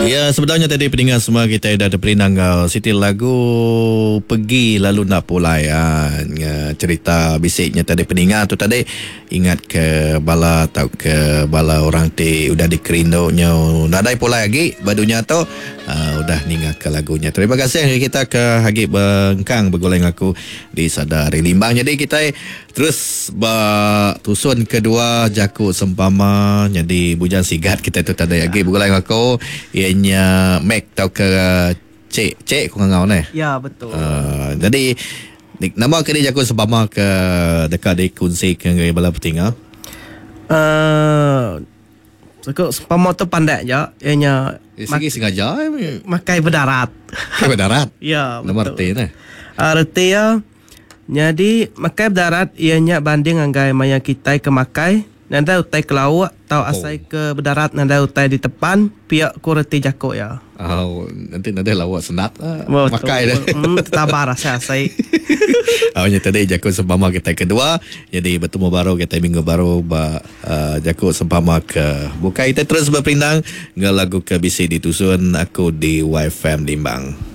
Ya, sebedau nya tadi peninga semua kita udah teperindang enggau siti lagu Pergi Lalu Enda Pulai. Ha, cerita bisi nya tadi peninga tu tadi ingat ke bala tauka bala orang ti udah dikerindu nyau nadai pulai agi ba dunya tu uh, udah ninga ke lagu nya. Terima kasih ngagai kita ke agi bengkang begulai enggau aku di Sada Hari Limbang. Jadi kita Terus ba tusun kedua jaku sempama nyadi bujang sigat kitai tu tadi agi begulai enggau aku iya nya Mac tauka Cik Cik ku ngangau neh. Ya betul. Uh, jadi nama ke ni jaku sempama ke deka dikunsika ngagai bala petinga? Uh, jaku sempama tu pandak ja iya nya Eh, sigi sengaja eh. Makai bedarat. Makai bedarat. Ya betul. Nama reti neh? Uh, reti iya Nyadi, makai bedarat iya nya banding ngagai maya kitai ke makai nadai utai ke lauk tau asai ke bedarat nadai utai ditepan, pia ku reti jaku iya. Au, enti nadai lauk sendat makai deh. Em tetabar asai asai. Au nya tadi jaku sempama kitai kedua. Nyadi betemu baru kitai minggu baru ba uhh jaku sempama ke bukai. Kitai terus beperindang enggau lagu ke bisi ditusun aku di Waifm Limbang.